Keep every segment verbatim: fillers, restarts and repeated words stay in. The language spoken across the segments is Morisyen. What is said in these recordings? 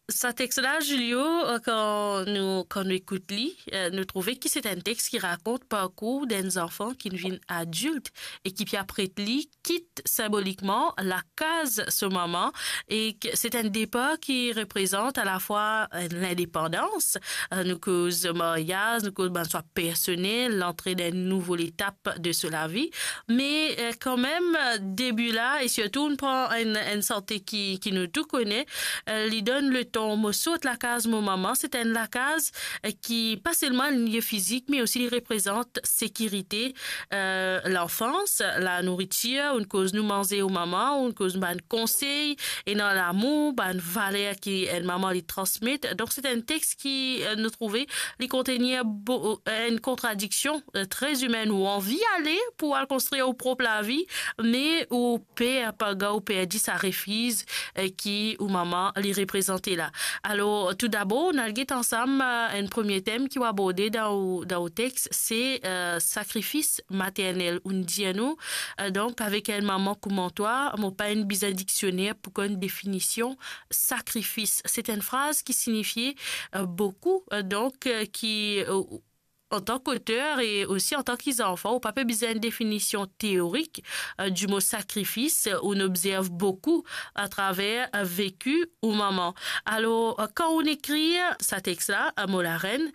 Sa text-la, Julio, euh, kan nou, kan nou ekout li, euh, nou trouve ki se enn text ki rakont parkour d'un enfant ki vinn adilt e ki pe apre li kit sinbolikman lakaz so mama, e ki se enn depar ki reprezant alafwa, euh, lindepandans, euh, nou koz maryaz, nou koz bann swa personel, lantre dan enn nouvo letap de so lavi. Me, euh, kanmem, euh, debi la, e sirtou nou pran enn, enn sante ki, ki nou tou kone, euh, li donn letan mo sort lakaz mo mama. Se enn lakaz, euh, ki pa selman enn lie fizik, me osi li reprezant sekirite, euh, lanfans, lanouritir, ou koz nou manze o mama, ou koz bann konsey, ena lamour, bann valer ki enn mama li transmet. Donk, se enn text ki, euh, nou trouve, li kontenir bo-, euh, enn kontradiksion, euh, tre imenn, ou anvi ale pou al konstrir ou prop lavi, me ou per, parski ou perdi sa refiz, euh, ki ou mama li reprezante la. Alor, toudabor, nou al get ansam, euh, enn premie tem ki ou aborde dan ou, dan ou text, se, euh, sakrifis maternel. Ou'nn dir nou, euh, donk, avek enn mama kouma twa, mo pa inn bizin diksioner pou konn definision sakrifis. Se enn fraz ki signifie, euh, boukou, euh, donk, euh, ki, euh, antan ki oter e osi antan ki zanfan, ou pa pe bizin enn definision teorik, euh, di mo sakrifis, euh, ou'nn obzerv boukou atraver, euh, veki ou mama. Alor, euh, kan ou'nn ekrir sa text-la, euh, mo larenn,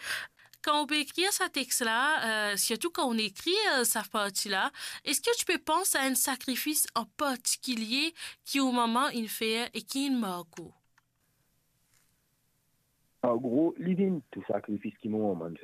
kan ou pe ekrir sa text-la, euh, sirtou kan ou'nn ekrir, euh, sa parti-la, eski ou ti pe pans a enn sakrifis an partikilie ki ou mama inn fer e ki inn mark ou? An gro, li vinn tou sakrifis ki mo mama inn fer.